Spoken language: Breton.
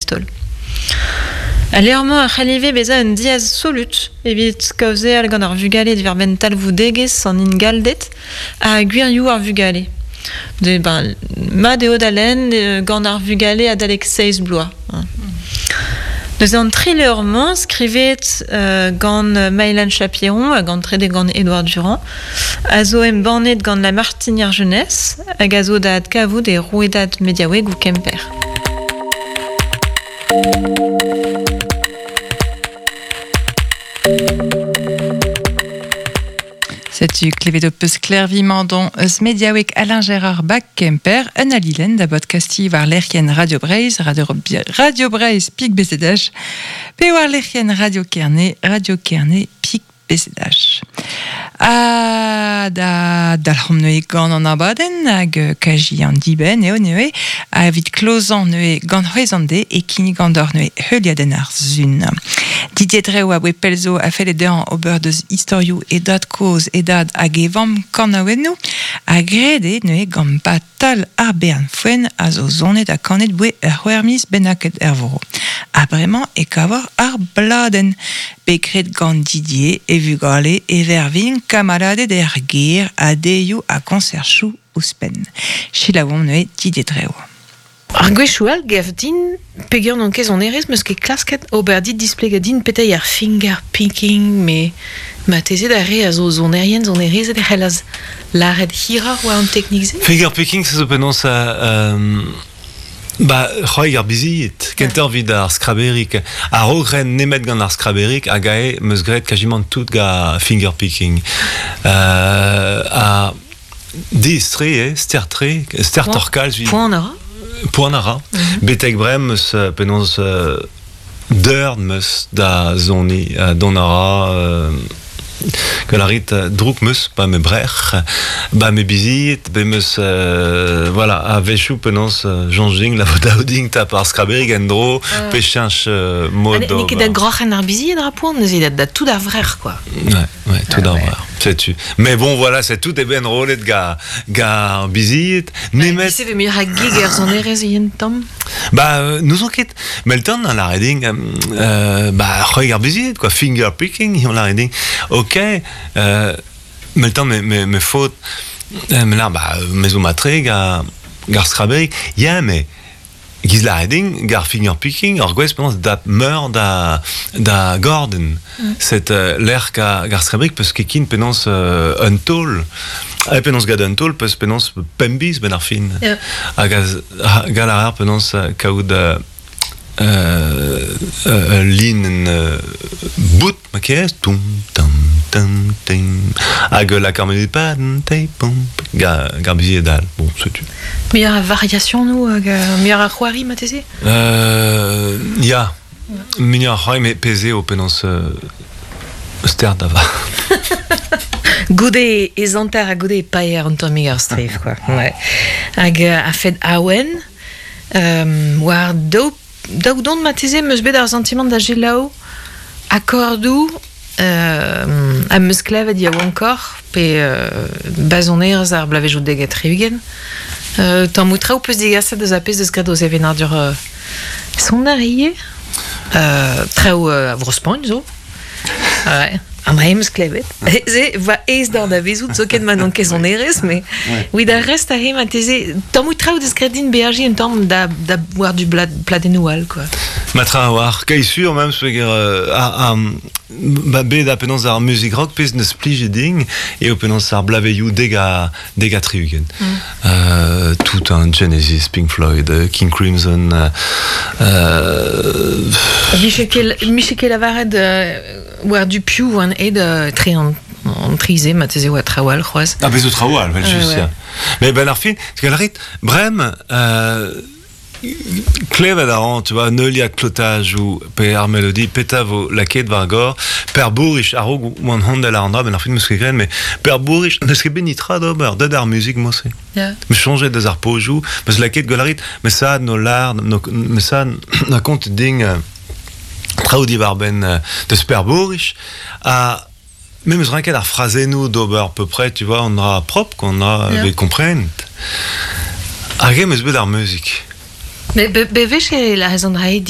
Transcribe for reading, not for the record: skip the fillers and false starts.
dreist-holl. Al levr-mañ a c'hall ivez bezañ un diaz solut evit kaozeal gant ar vugale diwar-benn talvoudegezh an ingalded ha gwirioù ar vugale. De, ben, mat eo da lenn gant ar vugale adalek seizh bloaz. Neuze an tri levr-mañ skrivet gant Maëlan Chapiron hag an trede gant Édouard Durand a zo embannet gant La Martinière Jeunesse hag a zo da adkavout e rouedad mediaouegoù Kemper. Setu klevet ho peus Klervi Mandon eus mediaoueg Alain Gérard Bak Kemper, un alilenn da bodkastiñ war lec'hienn Radio Breizh, Radio, Radio Breizh Pik BZH, pe war lec'hienn Radio Kerne, Radio Kerne Pik BZH. Ha da dalc'homp neuze gant an abadenn hag kaji an dibenn eo neuze ha evit klozañ neuze gant c'hwezh an de e kinnig an deoc'h neuze heuliadenn ar sun. Didier Dreo a voe pell zo a felle dezhañ ober deus istorioù e dad-kozh, e dad hag e vamm kanaouennoù ha graet eo neuze gant Batal ar bern foenn a zo sonet ha kanet 'boe ur c'hwec'h miz bennaket er vro. Ha bremañ e kavor ar bladenn bet graet gant Didier, e vugale, e vervin, kamaladed er gêr ha deioù ha koñserchoù ouzhpenn. Selaouomp neuze Didier Dreo. Ar gwechoù all 'gav din peger n'on ket sonerezh 'meus ket klasket ober dit displegañ din petra eo ar finger picking met marteze d'ar re a zo sonerien sonerezed e c'hellas lâret hiroc'h war an teknik-se. Finger picking se zo penaos ba c'hoari ar bizied kentoc'h evit ar skraberig a-raok ren nemet gant ar skraberig hag ae 'meus graet kazimant tout gant finger picking ha Diaes-tre eo, ster-tre, stertoc'h kalz evit... Poan a ra Poan a ra. Betek bremañ 'm eus penaos deurd 'm eus da soniñ. Dont a ra gant ar rit drouk 'm eus ba ma brec'h, ba ma bizied, bet 'm eus voilà, a-wechoù penaos soñj din la vo dav din tap ar skraberig en-dro pe cheñch mod N'eo ket da groc'hen ar bizied a ra poan neuze, da tout ar vrec'h quoi. Ouais. Ouais, tout ah, ouais. Setu. Mais bon, voilà, c'est tout est ben enrollet ga, ga bizied. Nemet... Se ve muioc'h a gig er sonerezh yen tamm? Ba, n'ouzon ket. Melton an lâret din, ba, c'hoeg ar bizied, quoi, finger picking, on lâret din. Ok, melton me, me, me faot, me lâr, ba, me zo matre ga, gar skrabeg. Ya, mais Giz lâret din, gar finger picking, ur gwezh penaos dap meur da, da gordenn. Set lec'h gar skrabrik peus ket kin penaos un taol. Ha penaos gant un taol peus penaos pemp biz benn ar fin. Hag gall a rer penaos kaout ul linenn bout ma kerez toum tam tam tim hag lak ar muzik pa te pom gar bizied all bon setu. Muioc'h a variasionoù hag muioc'h a c'hoari marteze? Ya muioc'h a c'hoari met pezh eo penaos stert da vat. Goude e zanter ha goude e paeer un tammig ar strev quoi. Ouais. Hag a-fet awen war daou daou don marteze 'm eus bet ar santimant da selaou akordoù am eus klevet yaouankoc'h pe bazonerezh ar bloavezhioù dek ha tri-ugent. Tammoù traoù 'peus degaset eus ar pezh 'deus graet o sevenadur soner ivez. Traoù a Vro-Spagn zo. Ouais. An dra em eus klevet. Se va aes d'an anavezout zoken ma n'on ket sonerezh, mais oui, ar rest a re marteze tammoù traoù deus graet din beajiñ un tamm da, da war du pladennoù all, quoi. Ma tra a-walc'h, kai sur même, peogwir ba bet ha penaos ar muzik rock pezh neus plijet din eo penaos ar blaveioù deg ha deg ha tri-ugent. Tout un Genesis, Pink Floyd, King Crimson. Miche ket lavaret war du piv oan aet tre an tri-se, marteze oa traoù all c'hoazh. Ah, bez zo traoù all, vel just, ya. Mais ben ar fin, rit, brem, Klevet a ran, tu vois, neuliad klotajoù pe ar melodi, petra vo lakaet war gor. Per Bourrich, a-raok oan hondel àr an dra, ben ar fin 'meus ket graet, met Per Bourrich n'eus ket bet nitra d'ober, deut ar muzik mod-se. 'Meus soñjet deus ar pozioù, 'meus lakaet gwell a rit, meus sad no lâr, meus sad na kontet din traoù diwar-benn deus Per Bourrich, ha me 'meus ranket ar frazennoù d'ober à peu près, tu vois, an dra propre, quoi, an dra bet komprenet. Hag eñ 'meus bet ar muzik. Mais bewech e lârez an dra-se din.